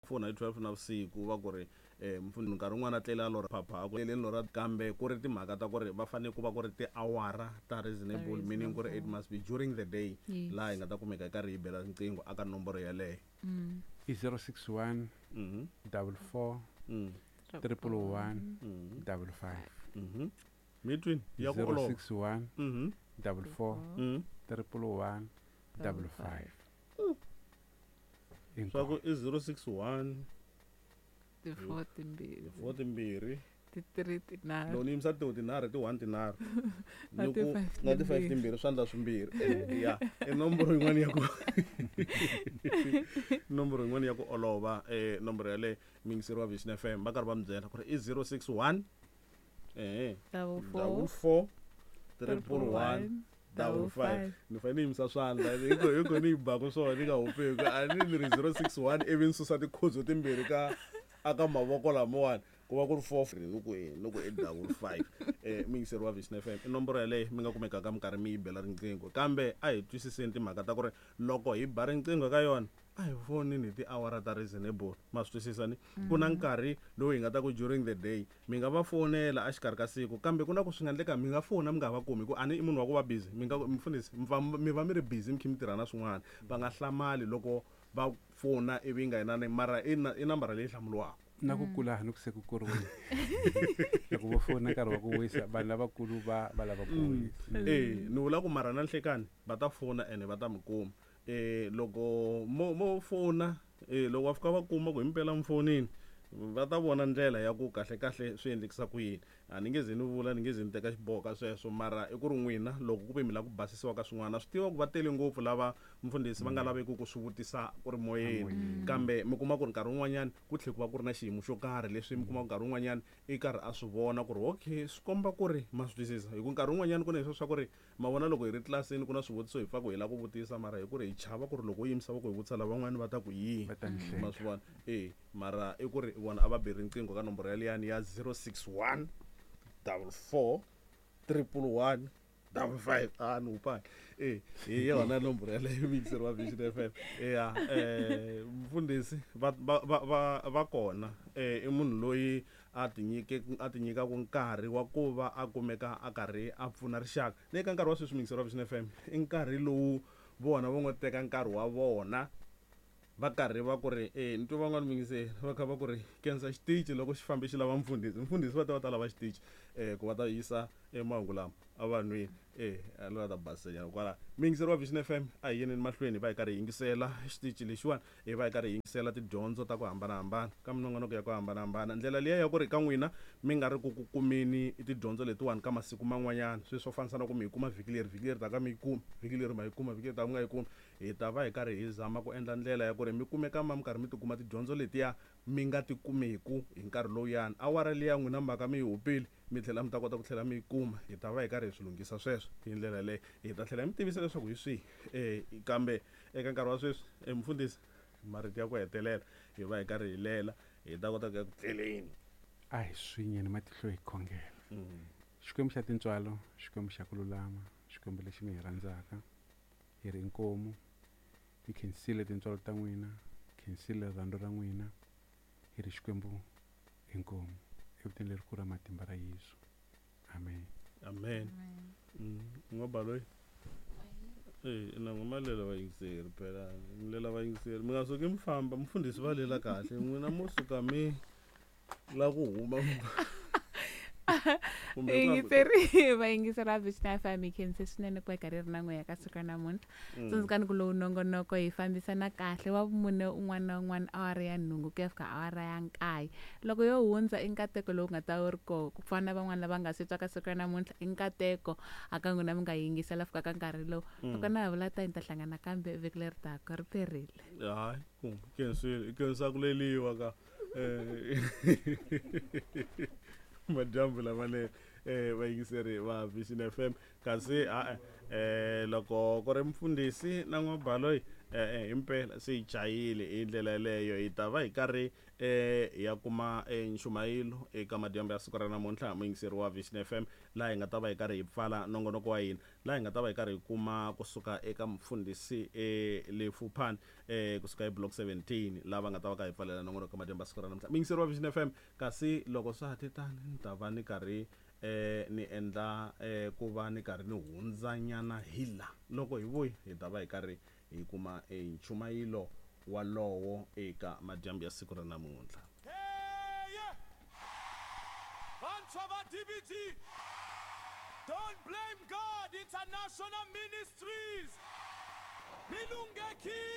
Fona hi 12 navusiku va ku ri mfundhisi nkarhi wun'wana a tlele a lorha phapha a ku tleleni lorha kambe ku ri timhaka ta ku ri va fanele ku va ku ri tiawara ta reasonable meaning ku ri it must be during the day laha hi nga ta kumeka hi karhi hi bela riqingho aka nomboro yeleyo. I 061 44 111 55. Mi twini ya ku olova. 061 44 111 55. Swa ku i 061 ti-four timbirhi. Four timbirhi. Ti-three tinharhu. Loko ni yimisa ti tinharhu ti 1 tinharhu. Na Ni ku ti-five na ti 5 timbirhi. Timbirhi swi endla swimbirhi. Ya, i nomboro yin'wana ya ku nomboro yin'wana ya ku olova, nomboro yaleyo muyingiseri wa Vision FM va karhi va mi byela ku ri i 061 Double four. Double four, triple Triple one, one, double double five. five. Ni fanele ni yimisa swandla hi ku ni yi baku swona ni nga hupeki a ni ni ri 061 ivi ni susa tikhudzo timbirhi ka aka mavoko lamawani ku va ku ri 4 ni ku i ni ku i double five. Muyingiseri wa Vision FM i nomboro yaleyo mi nga kumekaka mi karhi mi yi bela riqingho kambe a hi twisiseni timhaka ta ku ri loko hi ba riqingho ka yona a hi fonini hi tiawara ta reasonable ma swi twisisa ni ku na nkarhi lowu hi nga ta ku during the day mi nga va fonela a xikarhi ka siku kambe ku na ku swi nga endleka mi nga fona mi nga va kumi hi ku a ni i munhu wa ku va busy mi nga mufundhisi mi va mi ri busy mi kha mi tirha na swin'wana va nga hlamali loko va fona ivi nga yinani mara i i nambara leyi hlamuriwaka. Na ku kula ni ku se ku kuriwile loko vo fona nkarhi wa ku wisa vanhu lavakulu va lava ku wisa. Ni vula ku mara na nhlekani va ta fona ene va ta mi kuma. Loko mo fona loko va fika va kuma ku himpela mi fonini va ta vona ndlela ya ku kahle kahle swi endlekisa ku yini. A ni nge ze ni vula ni nge ze ni teka xiboho ka sweswo mara i ku ri n'wina loko ku ve mi lava ku basisiwa ka swin'wana swi tiva ku va tele ngopfu lava mfundhisi va nga laveki ku swi vutisa ku ri moyeni kambe mi kuma ku ri nkarhi wun'wanyana ku tlhela ku va ku ri na xiyimo xo karhi leswi mi kuma ku nkarhi wun'wanyana i karhi a swi vona ku ri okay swi komba ku ri ma swi twisisa hi ku nkarhi wun'wanyana ku na leswi swa ku ri ma vona loko hi ri tlilasini ku na swivutiso hi pfa ku hi lava ku vutisa mara hi ku ri hi chava ku ri loko u yimisa va ku hi vutisa lavan'wana va ta ku yini Va ta ni hleka. Ma swi vona mara i ku ri vona a va bi riqingho ka nomboro yaliyani ya 061 44 111 55. A ni wupani hi yona nomboro yaleyo muyingiseri wa Vision FM. Ya mfundhisi va kona i munhu loyi a tinyikaka nkarhi wa ku va a kumeka a karhi a pfuna rixaka ni eka nkarhi wa sweswi muyingiseri wa Vision FM i nkarhi lowu vona va ngo teka nkarhi wa vona va karhi va ku ri ni twa van'wana muyingiseri va kha va ku ri kensa xitichi loko xi fambe xi lava mfundhisi mfundhisi va ta va ta lava xitichi ku va ta yisa mahungu lama evanhwini a lo ta basisanyana kwala. Muyingiseri wa Vision FM a hi yeneni mahlweni hi va hi karhi hi yingisela xitichi lexiwani hi va hi karhi hi yingisela tidyondzo ta ku hambanahambana ka minongonoko ya ku hambanahambana ndlela liya ya ku ri ka n'wina mi nga ri ku ku kumeni tidyondzo letiwani ka masiku man'wanyana sweswi swo fanisa na ku mi yi kuma vhiki leri vhiki leri taka mi yi kumi vhiki leri ma yi kuma vhiki leri taka mi nga yi kumi hi ta va hi karhi hi zama ku endla ndlela ya ku ri mi kumeka ma mi karhi mi tikuma tidyondzo letiya mi nga ti kumeku hi nkarhi lowuyani awara liya n'wina mhaka mi yi hupile mi tlhela mi ta kota ku tlhela mi yi kuma hi ta va hi karhi hi swi lunghisa sweswo hi ndlela leyi hi ta tlhela mi tivisa leswaku hi swihi kambe eka nkarhi wa sweswi mfundhisi marito ya ku hetelela hi va hi karhi hi lela hi ta kota ku ya ku tleleni. A hi swinyeni matihlo hi khongela. Xikwembu xa tintswalo, Xikwembu xa ku lulama, Xikwembu lexi mi hi rhandzaka hi ri inkomu hi khensile tintswalo ta n'wina, khensile rirhandzu ra n'wina hi ri Xikwembu inkomu evitweni lerikulu ra matimba ra Yesu. Amen. Amen. N'wabaloyi na n'wi malela vayingiseri phela mi lela vayingiseri mi nga suki mi famba mfundhisi va lela kahle n'wina mo suka mi la ku huma. Vayingiseri va Vision FM hi khense swinene ku va hi karhi ri na n'wehe ka siku ra namuntlha. Tsundzukani ku lowu nongonoko hi fambisana kahle wa vumune un'wana na un'wana awara ya 8 ku ya fika awara ya 9. Loko yo hundza i nkateko lowu nga ta wu ri koho ku fana na van'wana lava nga swi twa ka siku ra namuntlha i nkateko a ka n'wina mi nga yingisela fika ka nkarhi lowu. Loko na ha vula tani hi ta hlangana kambe vhiki leri taka ri perile. Hayi ku khensile i khensa ku leliwa ka madyambu lamanene vayingiseri va Vision FM kasi loko ku ri mfundhisi na n'wabaloyi E-e himpela se yi chayile hi ndlela yeleyo. Hi ta va hi karhi hi ya kuma nchumayelo eka madyambu ya siku ra namuntlha, muyingiseri wa Vision FM, laha hi nga ta va hi karhi hi pfala nongonoko wa hina, laha hi nga ta va hi karhi hi kuma kusuka eka mufundhisi Lefuphani kusuka eBlock 17, lava nga ta va ka hi pfalela nongonoko madyambu ya siku ra namuntlha, muyingiseri wa Vision FM. Kasi loko swa ha te tani, ni ta va ni karhi ni endla ku va ni karhi ni hundzanyana hi la. Loko hi vuya, hi ta va hi karhi hi kuma nchumayelo walowo eka madyambu ya siku ra namuntlha. Vantshwa va DBT, Don't Blame God International Ministries, mi lunghekile.